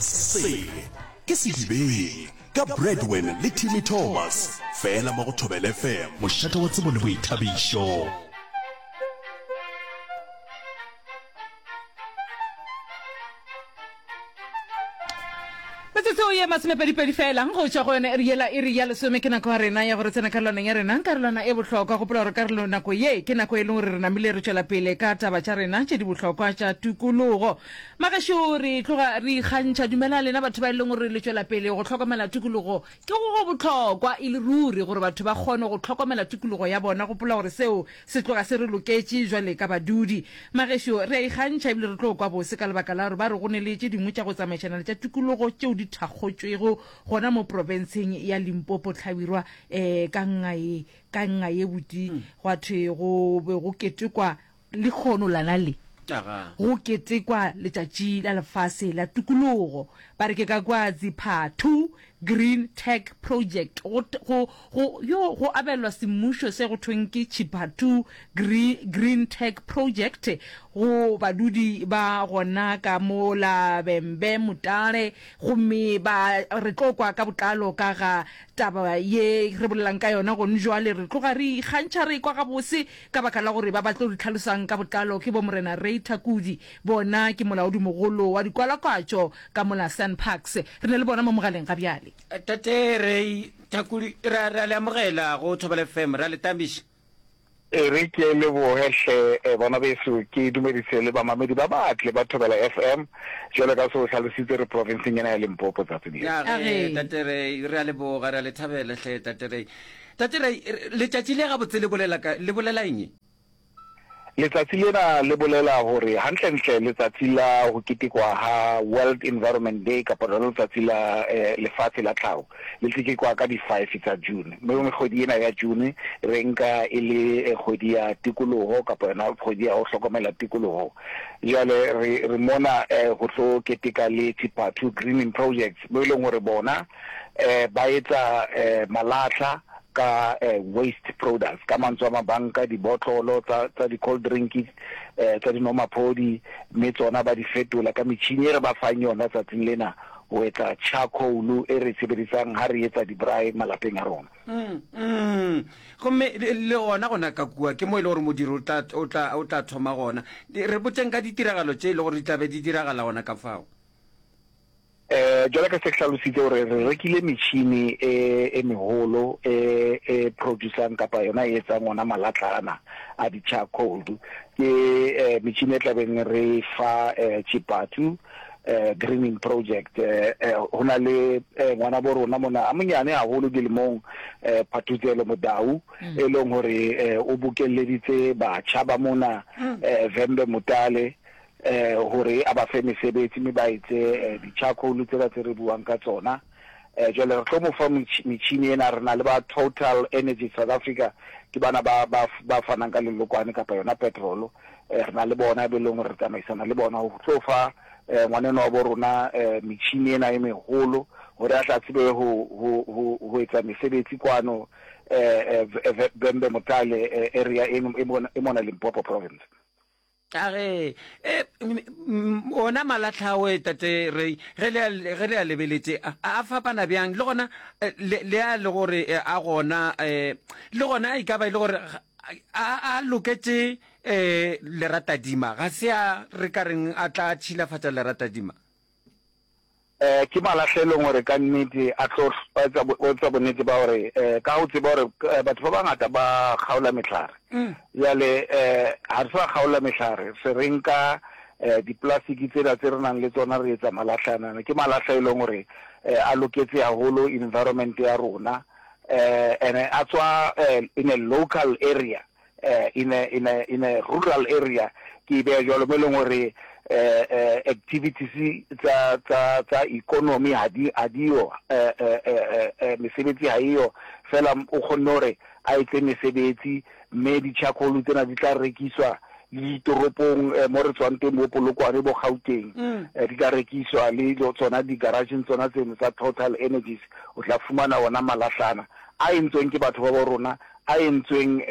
Se ke Sedibeng ka Bradwin le Timmy Thomas, fela mo go Thobela FM, mošate wa tsebo le boithabišo. Metsotso ye masomepedipedi fela go tšwa go yona iri yela iri ya lesome ke nako ya rena ya gore tsena karolwaneng ya rena karolwana e bohlokwa. Gopola gore karolo nako ye ke nako e leng gore re namile re tšwela pele ka taba tša rena tše di bohlokwa tša tikologo. Magešo re tloga re ikgantšha dumela lena batho ba e leng gore le tšwela pele go hlokomela tikologo. Ke go go bohlokwa e le ruri gore batho ba kgone go hlokomela tikologo ya bona. Gopola gore seo Se tloga se re loketše jwale ka badudi. Magešo, re a ikgantšha ebile re tlo kwa bose ka lebaka la gore ba re go ne le tše dingwe tša go tsamaišana le tša tikologo tšeo di thakgotšwego gona mo profenseng ya Limpopo Hlabirwa um ka nga ye, ka nga ye buti gwa thwe go be go ketekwa lehono lana le go ketekwa letšatši la lefase la tikologo. Ba re ke ka kwa Ziphathu Green Tech Project, go, go, go, yo go abelwa semmušo se go thweng ke Chipatu Green Tech Project go badudi ba gona ka mo la Bembe Mutale, gomme ba re tlo kwa ka botlalo ka ga taba ye re bolelang ka yona gone jwale. Re tloga re ikgantšha re ekwa gabose ka baka la gore ba ba tlo re tlhalosang ka botlalo ke bo Morena Ray Thakudi, bona ke molaodimogolo wa dikwalakwatšo ka mola SANParks. Re na le bona mo mogaleng ga bjale. Tate Ray Thakudi, re a, re a le amogela go Thobela FM, re a le tamiša. E re ke leboge hle bana beso, ke dumedise le bamamedi ba batle ba Thobela FM. Jwalo ka se o hlalositse re provinseng ena ya Limpopo tsatsing le. Ya ge, Tate Ray, re a leboga, re a le thabela hle Tate Ray. Tate Ray, letšatši le gabotse le bolela ka, le bolela eng? Letsatsi lena le bolela hore hantlentle letsatsi la ho ketekwa ha World Environment Day kapa lona letsatsi la lefatshe la tlhaho le tekekwa ka di five tsa June. Mme kgwedi ena ya June re nka e le kgwedi ya tikoloho kapa yona kgwedi ya ho hlokomela tikoloho. Jwale re re mona ho tlo keteka le Tshipathu Greening Projects mo e leng hore bona ba etsa malahla ka waste products, ka mantswe a mang ba nka dibotlolo tsa tsa di-cold drink tsa dinomaphodi mme tsona ba di fetola ka metjhini e re ba fang yona tsatsing lena ho etsa charcoal e re e sebedisang ha re etsa di-braai malapeng a rona. Mm, mm. Gomme le gona gona ka kua ke mo e le gore modiro o tla, o tla, o tla thoma gona. Re botšeng ka ditiragalo tše e le gore di tla be di diragala gona ka fao. Eh, jwalo ka se ke hlalositse gore re rekile metšhini e, e meholo e, e producang kapa yona e etsang ona malatlana a di-charcoal. Ke eh, metšhini e tlabeng re fa eh, Tšipatsu eh, greening project. Eh, eh, ho na le eh, ngwana bo rona mona a monyane haholo dilemong eh, Phathutselo Modau mm. e leng hore eh, o bokelleditse batjha ba mona mm. eh, Vhembe Mutale eh hore a ba fe mesebetsi mme ba etse eh, di-charcoal tsela tse re buang ka tsona. Eh, jwale re tlo mo fa metjhini ena, re na le ba Total Energy South Africa, ke bana ba, ba, ba fanang ka lelokwane kapa yona petrol. Eh, re na le bona be leng hore re tsamaisana le bona ho tlo fa eh, ngwaneno wa bo rona eh, metjhini ena e meholo hore a tla tsebe ho, ho, ho, ho etsa mesebetsi kwano eh, eh, Vhembe Mutale eh, area e, e mona, e mona Limpopo province. A re, E, ona malahla ao, Tate Ray, ge le a, ge le a lebeletše, a, a fapana bjang? Le gona, le, le a le gore a gona, le gona e ka ba e le gore a, a loketše leratadima, ga se a re ka reng a tla tšhilafatša leratadima? Eh, ke malahla e leng gore ka nnete a tlo etsa etsa bonnete ba gore eh, ka go tseba gore eh, batho ba bangata ba kgaola mehlare. Bjale eh, ga re sa kgaola mehlare, se re nka eh, diplastiki tsela tse re nang le tsona re etsa malahla anana. Ke malahla e leng gore eh, a loketse haholo environment ya rona eh, ene a tswa eh, in a local area. eh, in a, in a, in a rural area ke e beya jwalo mo e leng gore eh, eh, activities tsa tsa tsa economy ha di ha diyo eh, eh, eh, eh, mesebetsi ha eyo fela o kgonne gore a etse mesebetsi mme di-charcoal tsena di tla rekiswa le ditoropong eh, mo re tswang teng bo Polokwane bo Gauteng mm. eh, di tla rekiswa le tsona di-garageng tsona tseno tsa Total Energies o tla fumana ona malahlana a entsweng ke batho ba bo rona a entsweng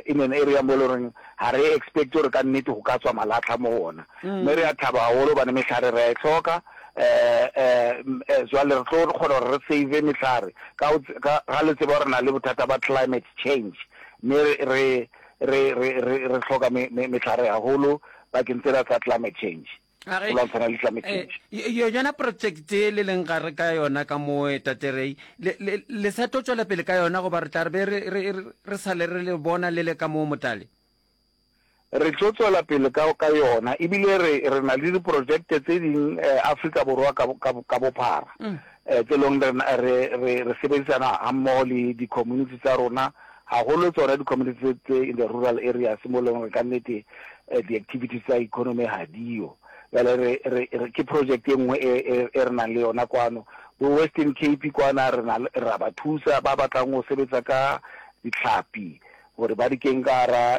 in an area mo e le goreng ga re expect gore ka nnete go ka tswa malatlha mo go ona. Mme re a thaba gagolo gobane mehlare re a e hloka. Um jwale re tlo kgona gore re save mehlare ka ka ga le tseba gore re na le bothata ba climate change mme re re re re re hloka mehlare haholo bakeng tsena tsa climate change. A Go re, lwantshana le climate eh, change. yona project e le leng gare ka yona ka mo eh, Tate Ray, le, le, le sa tlo tšwela pele ka yona goba re tla re be re, re, re, re sa le re le bona le le ka mo Motale? Re tlo tswela pele ka, ka yona ebile re, re na le diprojekte tse ding eh, Afrika Borwa ka, ka, ka bophara mm. eh, tse leng re, re, re, re sebedisana hammoho le di-community tsa rona haholo tsona di-community tse, tse in the rural areas mo leng gore ka nnete eh, di-activities tsa economy ga diyo. Bjale re, re, re, ke project e nngwe e, e, e re nang le yona kwano bo Western Cape kwana re na ra ba thusa ba batlang go sebetsa ka ditlhapi gore ba di keng ka gara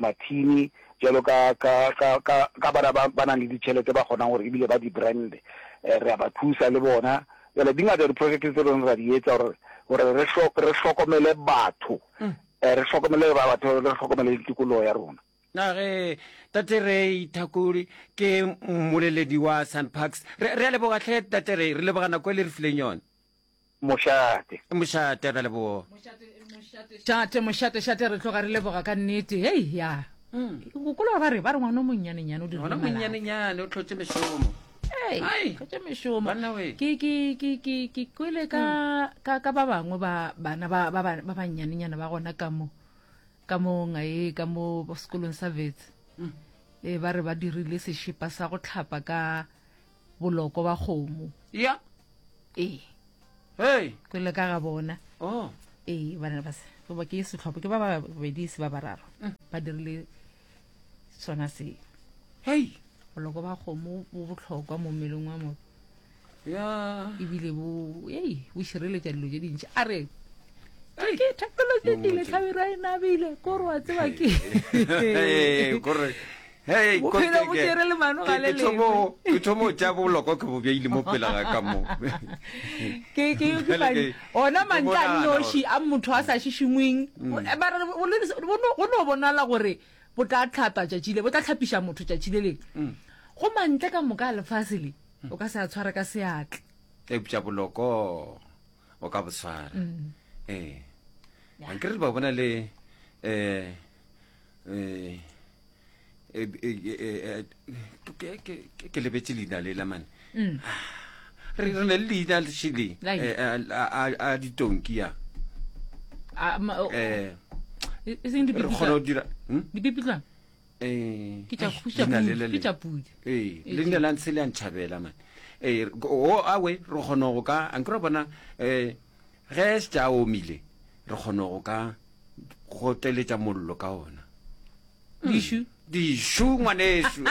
mathini jalo ka ka ka ka ka bana ba ba nang le ditšhelete ba kgonang gore ebile ba di brand re a ba thusa le bona jale di ngata di-project tse leng ra di etsa gore gore re re hlokomele batho mm. re hlokomele ba batho re hlokomele tikologo ya rona Na ge Tate Ray Thakuri ke mmoleledi wa SANParks. Re re a leboga hle Tate Ray, re leboga nako e le re fileng yona. Mošate. Mošate, ra leboga. Mošate, mošate, šate, re tloga re leboga ka nnete. Hei, ya. Gopola ba re, ba re ngwana o monnyanenyane o dirile Ngwana o malapa. monnyanenyane o hlotše mešomo. Hei, Ai. hlotše mešomo. Banna we. Ke, ke, ke, ke, ke kwele ka, ka, ka ba bangwe ba bana ba, ba, ba, ba bannyanenyana ba gona ka mo, ka mo ngae, ka mo sekolong sa Wits. E, ba re ba dirile sešepa sa go hlapa ka boloko ba kgomo. Ya. Ee. Hey. Kwele ka ga bona. Oh. Ee, bana ba se. Goba ke sehlopha ke ba babedi se ba bararo. Mm. Ba dirile sona se. Hey. Boloko ba kgomo bo bohlokwa mo mmeleng wa motho. Ya. Ebile bo ei bo šireletša dilo tše dintši. A re ke technology ile tlhabirwa e nabile ko re wa tseba ke. Kore Hey, Bophelo bo tšere lemano ga le lengwe. Ke thomo go tša boloko ke bo beile mo pele ga ka mo. Ke ke ke fane. Ona mantle a nnoši a motho a sa šišingweng. Mm. Ba re go no bonala gore bo tla tlhapa tšatši le bo tla tlhapiša motho tšatši le lengwe. Mm. Go mantle ka moka a lefase le o ka se a tshware ka seatla. Eupša boloko o ka bo tshwara. Mm. Ee. Ankere ba bona le eh eh Eh, eh, eh, ke lebetse leina le la mane mm. re re ne le leina šele a ditonki ya eh re kgona go dira hmm? dipipitlwana ke tša pudi ee leina la ntshe le a ntšhabela mane ee o awe re kgona go ka ankere bona um ge se tša omile re kgona go ka goteletša mollo ka ona Dišu. Dišu, ngwanešu.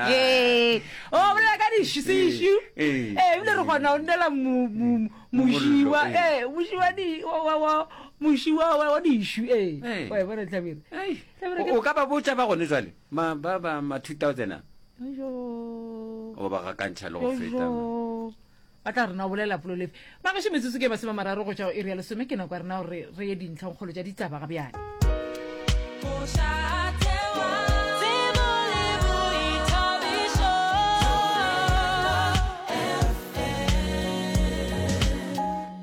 Ee, o bolela ka dišu, sešu. Ee, ebile re kgona go nnela moši wa, ee, moši wa di, wa, wa, wa, moši wa, wa, wa dišu, ee. Wa e bona, Hlabirwa? Hlabirwa ke. O ka ba botša ba gone jwale, ma, ba, ba, ma 2000 a. Yo. O ba gakantšha le go feta. Ba tla re na o bolela polelo efe? Magešo metsotso ke masomemararo go tšwa go iri ya lesome ke nako ya rena gore re ye dintlhongkgolo tša ditaba ga bjale. Mošate wa tsebo le boithabišo FM.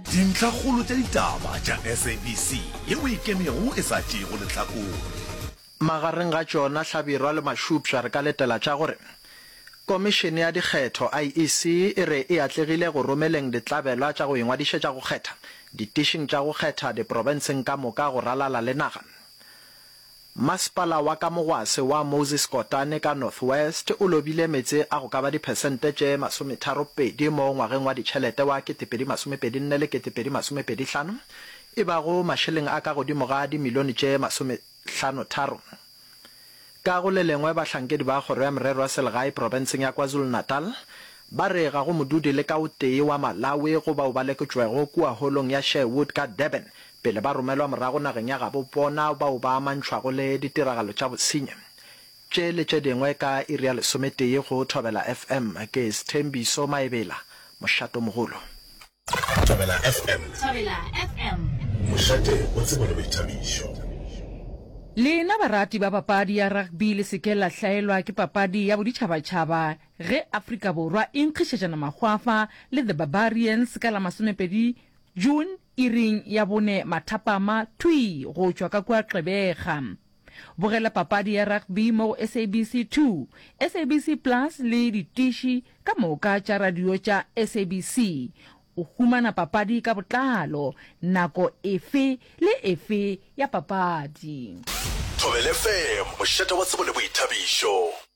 Dintlhakgolo tša ditaba tša SABC yeo e ikemego e sa tšeego lehlakore. Magareng ga tšona Hlabirwa le Mašupša re ka letela tša gore Komišene ya Dikgetho, IEC, e re e atlegile go romeleng ditlabelwa tša go ingwadišetša go kgetha ditišing tša go kgetha diprofenseng ka moka go ralala le naga. Masepala wa Kamogwase wa Moses Kotane ka North West o lobile meetse a go ka ba diphesente tše masometharopedi mo ngwageng wa ditšhelete wa 2024 le 2025, e bago mašeleng a ka godimo ga dimilione tše 53. Ka go le lengwe, bahlankedi ba Kgoro ya Merero ya Selegae profenseng ya KwaZulu-Natal ba re ga go modudi le ka o tee wa Malawi go bao ba lekotšwego kua holong ya Sherwood ka Durban pele ba romelwa morago nageng ya gabo bona bao ba amantšhwago le ditiragalo tša bosenyi. Tše le tše dingwe ka iri ya lesometee go Thobela FM. Ke Sthembiso Maebela, mošatomogolo. Thobela FM. Thobela FM. Mošate wa tsebo le boithabišo. Lena barati ba papadi ya rugby le se ke la hlaelwa ke papadi ya boditšhabatšhaba ge Afrika Borwa e nkgišetšana mahwafa le The Barbarians ka la masomepedi June iring ya bone mathapama thwii go tšwa ka kua Gqeberha. Bogela papadi ya rugby mo go SABC 2, SABC Plus le ditiši ka moka tša radio tša SABC. O humana papadi ka botlalo nako efe le efe ya papadi. Thobela FM, mošate wa tsebo le boithabišo.